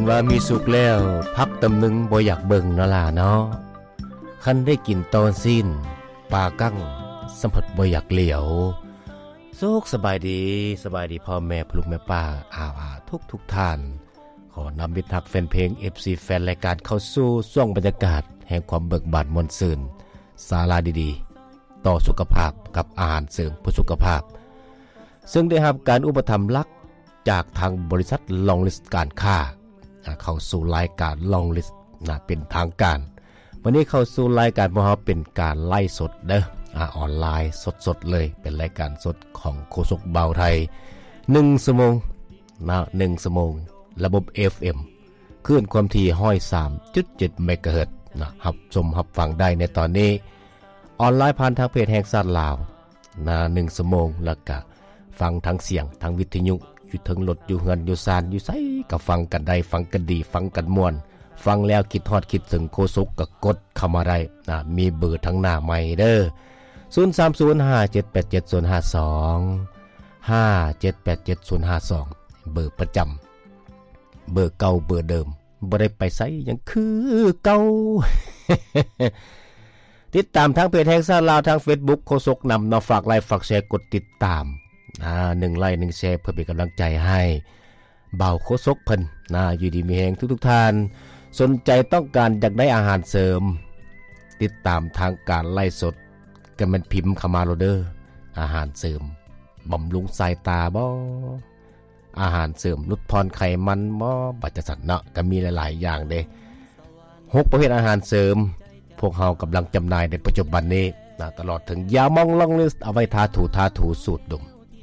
ວ່າມີສຸກແລ້ວ ຜັກຕຳໜຶງບໍ່ຢາກເບິ່ງເນາະຫຼ້າເນາະ. ຄັນໄດ້ກິນຕໍ່ຊີ້ນ ປາກັງສຳຜັດບໍ່ຢາກຫຼຽວ. ສຸກສະບາຍດີ, ສະບາຍດີພໍ່ແມ່ ພໍ່ລູກແມ່ປ້າ ອາວາທຸກໆທ່ານ. ຂໍນຳມິດຮັກແຟນເພງ ເອັຟຊີ ແຟນລາຍການເຂົ້າສູ່ຊ່ວງບັນຍາກາດແຫ່ງຄວາມເບີກບານມ່ວນຊື່ນ, ສາລະດີໆ ຕໍ່ສຸຂະພາບກັບອາຫານເສີມເພື່ອສຸຂະພາບ, ເຊິ່ງໄດ້ຮັບການອຸປະຖຳຫຼັກຈາກທາງບໍລິສັດລອງລິສການຄ້າ ອາ ເຂົ້າສູ່ລາຍການລອງລິສນະ ເປັນທາງການ. ມື້ນີ້ເຂົ້າສູ່ລາຍການພວກເຮົາເປັນການໄລຟ໌ສົດເດີ ອາ ອອນລາຍສົດໆເລີຍ, ເປັນລາຍການສົດຂອງໂຄສົກບ່າວໄທ ໜຶ່ງຊົ່ວໂມງນະ ໜຶ່ງຊົ່ວໂມງ ລະບົບ ເອັຟເອັມ ຄື້ນຄວາມຖີ່ ຮ້ອຍສາມຈຸດເຈັດ ເມກາເຮີດນະ, ຮັບຊົມຮັບຟັງໄດ້ໃນຕອນນີ້ ອອນລາຍຜ່ານທາງເພຈແຫ່ງຊາດລາວນະ ໜຶ່ງຊົ່ວໂມງ, ແລ້ວກະຟັງທັງສຽງ ທັງວິທະຍຸ ຢູ່ເທິງລົດ ຢູ່ເຮືອນ ຢູ່ຊານ ຢູ່ໃສກະຟັງກັນໄດ້, ຟັງກັນດີ ຟັງກັນມ່ວນ, ຟັງແລ້ວຄິດຮອດຄິດເຖິງໂຄສົກກະກົດເຂົ້າມາໄດ້ນະ, ມີເບີທາງໜ້າໃໝ່ເດີ ສູນສາມສູນ ຫ້າເຈັດແປດເຈັດ ສູນຫ້າສອງ ຫ້າເຈັດແປດເຈັດ ສູນຫ້າສອງ ເບີປະຈຳ ເບີເກົ່າເບີເດີມ ບໍ່ໄດ້ໄປໃສ ຍັງຄືເກົ່າ. ຕິດຕາມທາງເພຈແຫ່ງຊາດລາວ ທາງເຟສບຸກໂຄສົກນຳເນາະ, ຝາກໄລ ຝາກແຊ ກົດຕິດຕາມ ອາ ໜຶ່ງໄລ ໜຶ່ງແຊ ເພື່ອເປັນກຳລັງໃຈໃຫ້ບ່າວໂຄສົກເພິ່ນນະ ຢູ່ດີມີແຮງທຸກໆທ່ານ. ສົນໃຈຕ້ອງການຢາກໄດ້ອາຫານເສີມ ຕິດຕາມທາງການໄລຟ໌ສົດ ກະແມ່ນພິມເຂົ້າມາໂລດເດີ ອາຫານເສີມບຳລຸງສາຍຕາບໍ? ອາຫານເສີມຫຼຸດຜ່ອນໄຂມັນບໍ? ບັດຈັ່ງຊັ້ນເນາະ ກະມີຫຼາຍໆຢ່າງເດ້ ຫົກປະເພດອາຫານເສີມ ພວກເຮົາກຳລັງຈຳໜ່າຍໃນປັດຈຸບັນນີ້ນະ, ຕະຫຼອດເຖິງຢາໝອງລອງລິສ ເອົາໄວ້ທາຖູ ທາຖູ ສູດດົມ